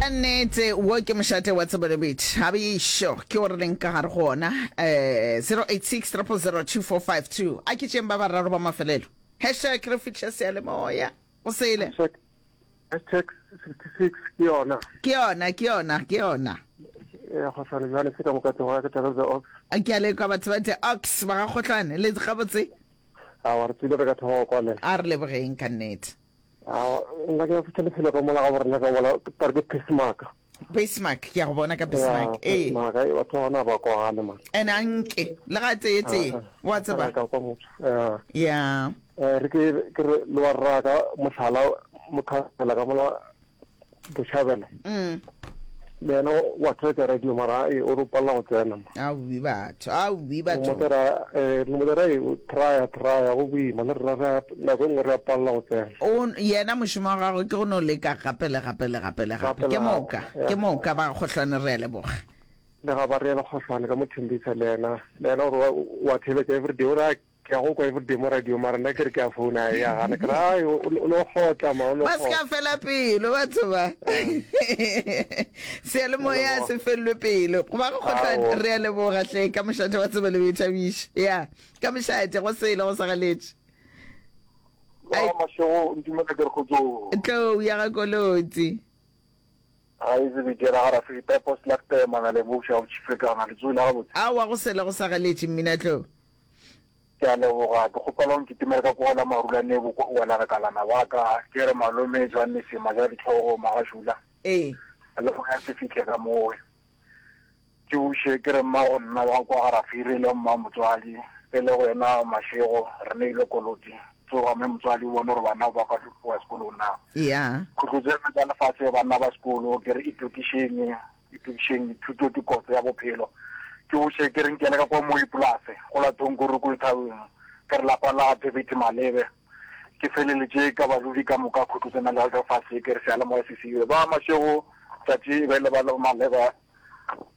Ka nnete wo ke mošate wa tsebo le boithabišo ke o re leng ka gare go ona um 086 000 2452 a ke tšeng ba bararo ba mafelelo hashtag re fihla seyalemoya go sele Hashtag, hashtag 66 ke yona. Ke yona, ke yona, ke yona. Ee, Kgohlane bjale se ka moka tloga ke tšwa the Ox. A ke a lekwa batho ba the Ox ba ga Kgohlane le gabotse. Aowa re tswile re ka thoma go kwalela. A re lebogeng ka nnete. Aowa nna ke ya fihla lefelo ka mola ga borena ka mola ka re ke Bismarck. Bismarck ke ya go bona ka Bismarck. Ee. Bismarck ai batho ba gona ba kwagale man. Ene a nke le ga tseye tseye wa tseba. Ka kwa motho. Yeah. Yeah. Eh re ke ke re le wa rra ka mohlala mokhansela ka mola Bochabela. Mm. Le yena wa theetša radio mara e o re o palela go tsena. Aowi batho, aowi batho. Motera eh motera e o traya traya go boima le rena re nako e nngwe re a palela go tsena. O yena mošomo wa gagwe ke go no leka gape le gape le gape le gape. Ke moka, ke moka ba Kgohlwane re a leboga. Le ga ba re yena Kgohlwane ka mo Thembisa le yena le yena o re wa theeletša everyday o re a Ke a go kwa everyday mo radio mara nna ke re ke a founa ya gana ke re ai o no kgotla ma o no Ba se ka fela pelo batho ba. Seyalemoya se fellwe pelo. Go ba go kgotla re a leboga hle ka mošate wa tsebo le boithabišo. Ya, ka mošate go sele go sa galetše. Ai. Mašego ntumele ke re kgotsong. Tlou ya ga Kolotsi. Ga e tsebe ke ra gara Filipe Post Lacte mana le bopša go tšhifekana le tswele gabotse. Aowa go sele go sa galetše mmina tlou. Ke a leboga. Ke kgopela o nkitimele ka kwa go la Marulane wela re kalana ba ka. Ke re malome Johannes Majaditlhogo Magašula. Ee. Le moya se fihle ka mowe. Ke buše ke re mmago nna wa kwa ga Rafiri le mma motswadi e le go yena Mashego re neile koloti. Tsoga mme motswadi o bone gore bana ba ka tloga sekolong na. Ya. Khutlo tsena tša lefatshe banna ba sekolo ke re itokišeng. Itokišeng, thuto ke kotse ya bophelo. Ke buše ke re nkele ka kwa Moipolase, go la Thonkuruku Lethabeng, ke re lapa la David Malebe. Ke feleletše ka badudi ka moka Khutlotsena le Alderfase, ke re seyalemoya se siwe. Ba Mashego, tšatši e be le ba Malebe,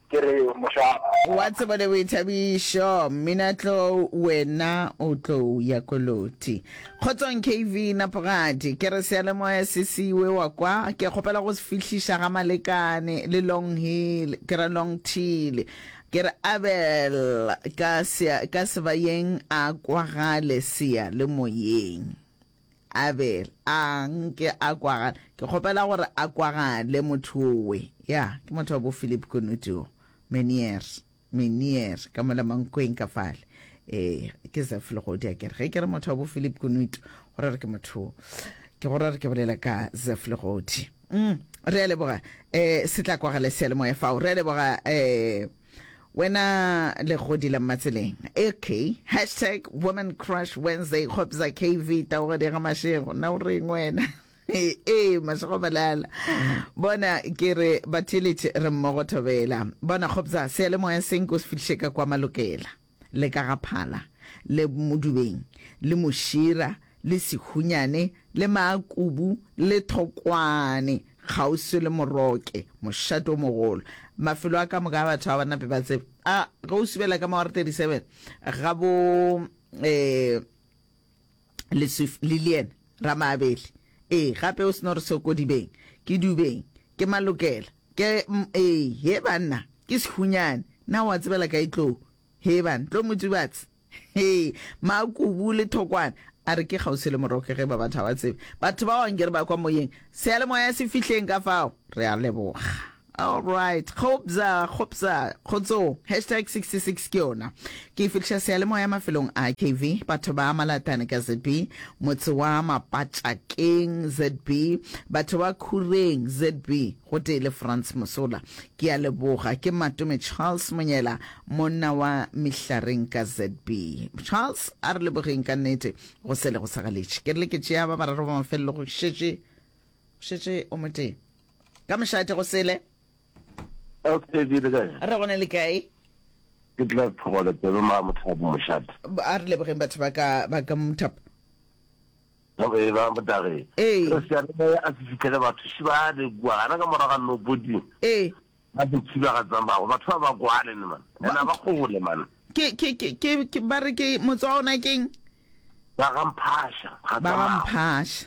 ke re moša. Wa tsebo le boithabišo, mmina tlou wena o tlou ya koloti. Kgotsong KV Napogadi, ke re seyalemoya se siwe wa kwa, ke kgopela go se fihliša ga Malekane le Long Hill, ke ra Long Till, ke re Abel ka sea, ka sebayeng a kwagale seyalemoyeng. Abel a nke a kwagale, ke kgopela gore a kwagale motho owe. Ya, ke motho wa bo Philip Kunutu, Menier. Menier, ka mola Mankweng ka fale. Ee, ke Zeph Legodi a kere. Ge ke re motho wa bo Philip Kunutu, go ra re ke motho, ke go ra re ke bolela ka Zeph Legodi. Mm, re a leboga. Eh, se tla kwagala seyalemoya fao. Re a leboga eh wena legodi la mmatseleng. Okay, hashtag woman crush Wednesday, Kgopza KV, Taogadi ga Mashego. Na o reng wena? Ee, mašego malala. Bona, ke re batheeletše re mmogo thobela. Bona, Kgopza, seyalemoya se nko se fihliše ka kwa Malokela, le ka ga Phala, le Modubeng, le Mošira, le Sehunyane, le Maakubu, le Thokwane, kgauswi le Moroke, mošate o mogolo. Mafelo a ka moka a batho ga ba nape ba tsebe. A, ge o subela ka ma 37, ga bo, eh, Leswif, Lilian Ramaabele. Ee, gape o seno re Sokodibeng, ke Dubeng, ke Malokela, ke, ee, he banna, ke Sehunyane. Na o a tsebela kae Tlou? He banna, Tlou Motsubatse. He, Makubu le Thokwane. A re ke kgauswi le Moroke ge ba batho ga ba tsebe. Batho bao anke re ba kwa moyeng. Seyalemoya se fihleng ka fao. Re a leboga. All right. Kgopza, kgopza, kgotsong. Hashtag 66 ke yona. Ke e fihliša seyalemoya mafelong a KV, batho ba Malatane ka ZB, motse wa Mapatšakeng ZB, batho ba Khureng ZB, gotee le Frans Mosola. Ke a leboga. Ke Matome Charles Monyela, monna wa Mehlareng ka ZB. Charles, a re lebogeng ka nnete go sele go sa galetše. Ke rile ke tšea ba bararo ba mafelelo go šetše, go šetše o motee. Ka mošate go sele. Okay, ke le kae? Re gona le kae? Ke tla tlhogola tsebe ma mothapo mošate. A re lebogeng batho ba ka ba ka mothapo. Okay, ba motageng. Ee. Re seyalemoya a se fihlele batho še ba le kua gana ka morago ga nopoding. Ee. Ba se thiba ga tsamago batho ba ba kwale ne man. Ena ba kgole man. Ke ke ke ke ke ba re ke motse wa ona keng? Ba ga Mphasha ga Ba ga tsamago. Mphasha.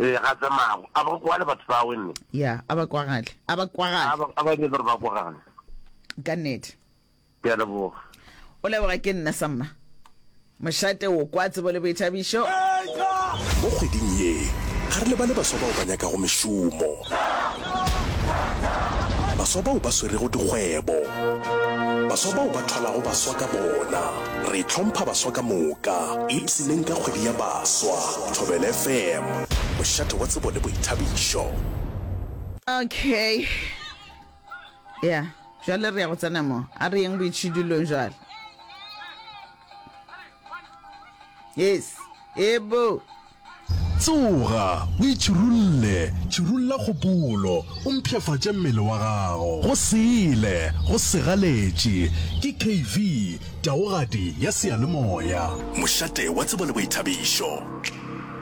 Ee, ga tsamago. A ba kwale batho ba wenne. Ya, a ba kwagale. A ba kwagale. A ba a ba nyake gore ba kwagale. Ka nnete. Ke a leboga. O leboga ke nna samma. Mošate o kwa tsebo le boithabišo. Mo kgweding ye, ga re lebale baswa bao ba nyakago mešomo, baswa bao ba swerego dikgwebo, baswa bao ba thwalago baswa ka bona. Re hlompha baswa ka moka. Ipshineng ka kgwedi ya baswa. Thobela FM, mošate wa tsebo le boithabišo. Okay. Ya, jwale re ya go tsena mo. A re yeng boitšhidulong jwale. Yes. Ebo. Tsoga, o itšhirulle, tšhirulla kgopolo, o mpshafatše mmele wa gago. Go sele, go segaletše, ke KV, taogadi ya seyalemoya. Mošate wa tsebo le boithabišo.